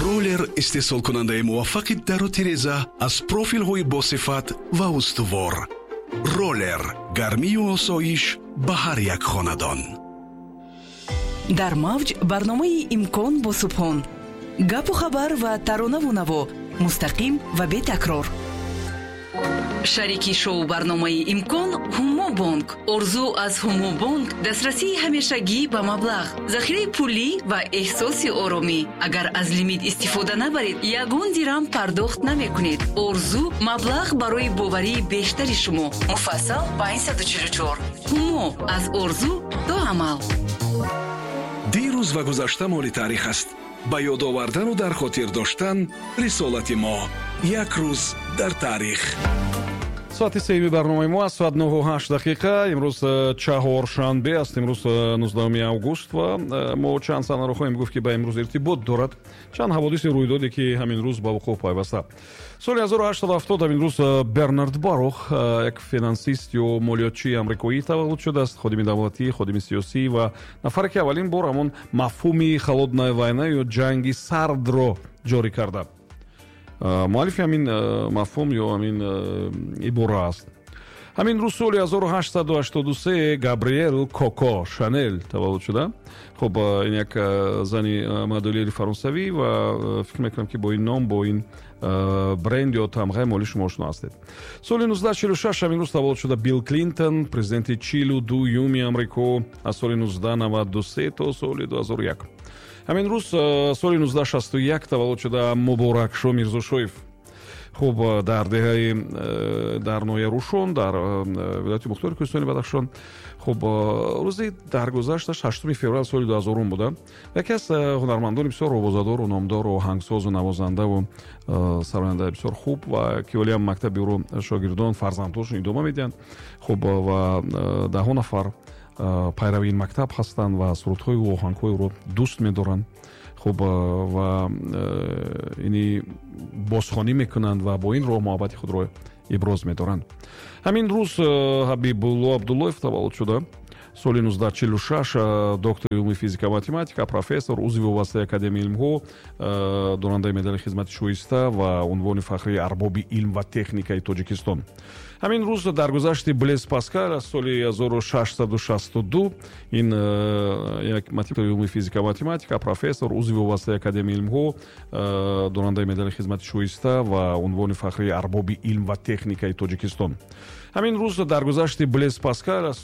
Ролер, истеҳсолкунандаи муваффақи дару тиреза аз профилҳои босифат ва устувор. Ролер, гармию осоиш ба ҳар як хонадон. Дар мавҷ барномаи «Имкон» бо Субҳон. Гапу хабар ва таронаву наво мустақим ва бетакрор. Шарики шоу барномаи «Имкон» Ҳумо Бонк. Орзу аз Ҳумо Бонк: дастрасии ҳамешагӣ ба маблағ, захираи пулӣ ва эҳсоси оромӣ. Агар аз лимит истифода набаред, ягон дирам пардохт намекунед. Орзу: маблағ барои боварии бештари шумо. Муфассал 544. Ҳумо: аз орзу то амал. Дирӯз ва гузашта моли таърих аст. Ба ёд овардану дар хотир доштан рисолати мо. Як рӯз дар таърих. Соати сеюми барномаи мо аст, соат 9:08. Имрӯз чаҳоршанбе аст, имрӯз 19 август ва мо чанд санаро хоҳем гуфт, ки ба имрӯз иртибот дорад, чанд ҳаводиси рӯйдоде, ки ҳамин рӯз ба вуқӯъ пайваста. Соли 1870 ҳамин рӯз Бернард Барух, як финансист ё молиётчии амрикоӣ, таваллуд шудааст. Ходими давлатӣ, ходими сиёсӣ ва нафаре, ки аввалин бор ҳамон мафҳуми холодная война ё ҷанги сардро ҷорӣ карда, муаллифи ҳамин мафҳум ё ҳамин ибора аст. Ҳамин рӯз соли 1883 Габриэл Коко Шанел таваллуд шуда. Хуб, ин як зани модельери фаронсавӣ ва фикр мекунам, ки бо ин ном, бо ин бренд ё тамғаи моли шумо ошно ҳастед. Соли 1946 ҳамин рӯз таваллуд шуда Билл Клинтон, президенти 42-юми Амрико аз соли 1993 то соли 2001. Ҳамин рӯз соли 1961 таваллуд шуда Муборакшо Мирзошоев. Хуб, дар деҳаи, дар ноҳияи Рушон, дар вилояти мухтори Кӯҳистони Бадахшон. Хуб, рӯзи даргузашташ 8 феврал соли 2000 буда. Яке аз ҳунармандони бисёр овозадору номдору, оҳангсозу навозандаву сарояндаи бисёр хуб ва ки ҳолиам мактаби ӯро шогирдон, фарзандҳошон идома медиҳанд. Хуб, ва даҳҳо нафар пайрави ин мактаб ҳастанд ва сурудҳои ӯ, оҳангҳои ӯро дӯст медоранд. Хуб, ва ини бозхонӣ мекунанд ва бо ин роҳ муҳаббати худро иброз медоранд. Ҳамин рӯз Ҳабибулло Абдуллоев таваллуд шуда соли 1946, доктори илми физика, математика, профессор, узви вобастаи Академияи илмҳо, дорандаи медали хизмати шоиста ва унвони фахрии арбоби илм ва техникаи Тоҷикистон. Ҳамин рӯз даргузашти Блез Паскал аз соли 1662. Ин як илми физика, математика, профессор, узви вобастаи Академияи илмҳо, дорандаи медали хизмати шоиста ва унвони фахрии арбоби илм ва техникаи Тоҷикистон. Ҳамин рӯз даргузашти Блез Паскал аз